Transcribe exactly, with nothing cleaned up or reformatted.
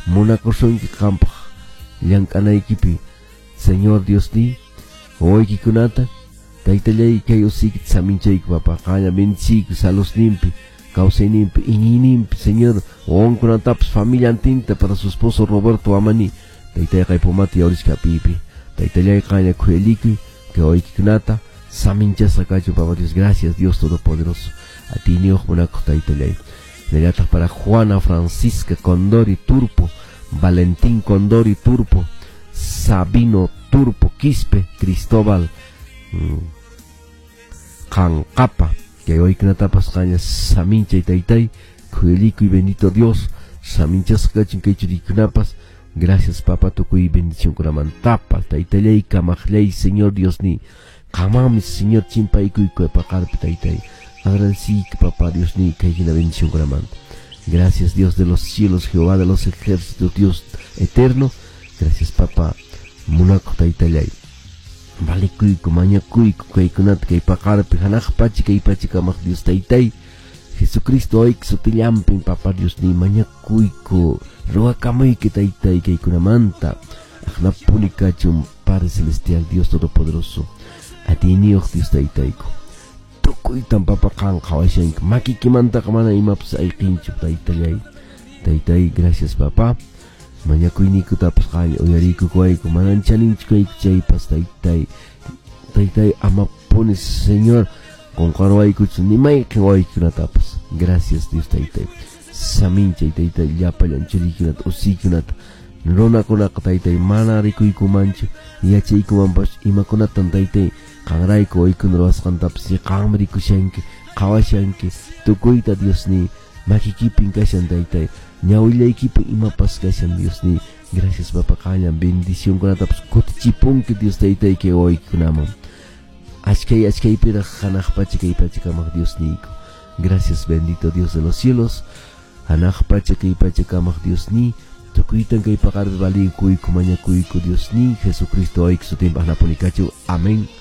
Munakusunki qampaq llank'anaykipi Señor Dios ni wawaykikunata taytallay kay usiykita saminchayku papa qanlla bendiciyku saludninpi kawsayninpi iñiyninpi Señor wawankunatapas familiantinta para su esposo Roberto Amani taytay qaypumata yawrishka pipi taytallay qanlla khuyalikuy kay wawaykikunata saminchasqa kachun Papa Dios. Gracias, Dios Todopoderoso, atiyniyuq munakuq taytallay. Hinallataq para Juana Francisca Condori Turpo, Valentín Condori Turpo, Sabino Turpo Quispe, Cristóbal mm, Qanqapa kay wawaykunatapas qanlla saminchay taytay khuyalikuy. Bendito Dios, saminchasqa kachun kay churiykunapas. Gracias, papa, tukuy bendicionkunamantapas. Taytallay, kamaqllay, Señor Dios ni qamami Señor chimpaykuyku paqarpi taytay agradeciyki papá Dios ni kay hina bendicionkunamanta. Gracias, Dios de los cielos, Jehová de los ejércitos, Dios eterno. Gracias, papá, munakuq taytallay. Valikuyku mañakuyku kaykunata kay paqarpi hanaq pacha kay pacha kamaq Dios taytay Jesucristo wawayki sutillampin papá Dios ni mañakuyku ruwakamuyki taytay kaykunamanta aqnapuni kachun. Padre Celestial, Dios Todopoderoso, atiyniyuq Dios taytayku tukuytan papa qan qhawashanki makikimantaqa mana imapas ayqinchu taytallay. Taytay, gracias, papá, mañakuyniykutapas qanlla uyariykukuwayku manan chaninchu kayku chaypas taytay. Taytay, amapuni Señor qunqarwaykuchu ni mayqin wawaykikunatapas. Gracias, Dios taytay, saminchay taytay llapallan churiykunata usiykunata runakunaqa taytay mana rikuykumanchu yachaykumanpas imakunatan taytay qanrayku wawaykuna ruwasqantapas qanmi rikushanki qhawashanki tukuyta Dios ni makikipin kashan taytay ñawillaykipin imapas kashan Dios ni. Gracias, papa, qanllan bendicionkunatapas kutichipunki Dios taytay kay wawaykikunaman achkay achkaypiraq hanaq pacha kay pacha kamaq Dios niyku. Gracias, bendito Dios de los cielos, hanaq pacha kay pacha kamaq Dios ni tukuytan kay paqarpi valikuyku mañakuyku Dios ni Jesucristo wawayki sutinpaq napuni kachu. Amén.